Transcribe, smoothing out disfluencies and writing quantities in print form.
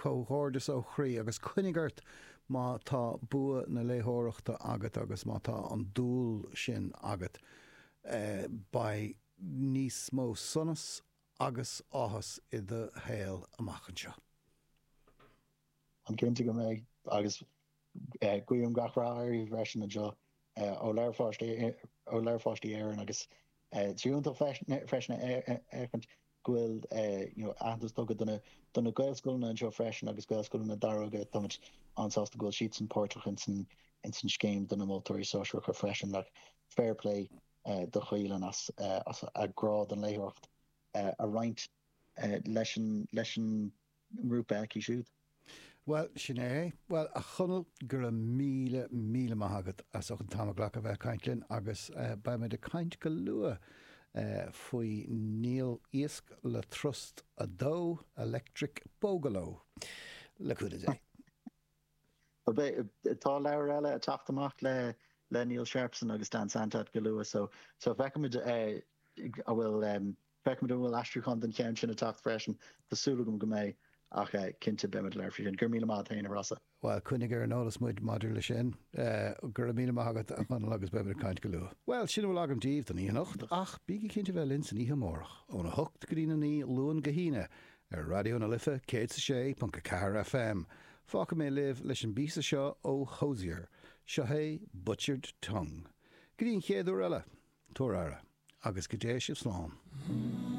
Comhghairdeas ó chroí agus coinnigh ort má tá bua na léitheoireachta agat agus má tá an dúil sin agat. Beidh níos mó sonas agus áthas i do shaol amach anseo. An cinnte go mbeidh agus guím gach rath uirthi freisin anseo ó Leabhair Pháistí ó Leabhair Pháistí Éireann agus is iontach freisin a fheicint go bhfuil you know aitheantas tugtha do na do na Gaelscoileanna anseo freisin agus Gaelscoileanna Daróga táimid an-sásta go bhfuil siadsan páirteach ins an ins an scéim do na moltóirí sóisearacha freisin like fair play do Chaoileann as as a grá don léitheoireacht a roinnt leis an leis an ngrúpa aici siúd. Bhuel, sin é é. Bhuel, a Chonaill, go raibh míle, míle maith agat as ucht an t-am a ghlacadh a bheith ag caint linn agus beimid ag caint go luath faoi Níl Iasc le Trust 2, Electric Boogaloo. Le cúnamh Dé. Bhuel, tá leabhar eile ag teacht amach le le Neil Sharpson agus Dan Santat go luath so so feicfimid an bhfuil feicfimid an bhfuil aistriúchán den cheann sin ag teacht freisin. Tá súil agam go mbeidh ach cinnte beimid ag labhairt faoi sin. Go raibh míle maith agat féin a Rossa. Bhuel, coinnigh ar an eolas muid maidir leis sin. Go raibh míle maith agat a Chonaill agus beimid ag caint go luath. Bhuel, sin a bhfuil agam daoibh don oíche anocht ach bígí cinnte bheith linn san oíche amárach óna hocht go dtí a 9 Luan go hAoine Ar Raidió na Life 106.4 FM, fágfaidh mé libh leis an bpíosa seo ó Hozier. Seo é Butchered Tongue. Go dtí an chéad uair eile, tabhair aire, agus go dté sibh slán.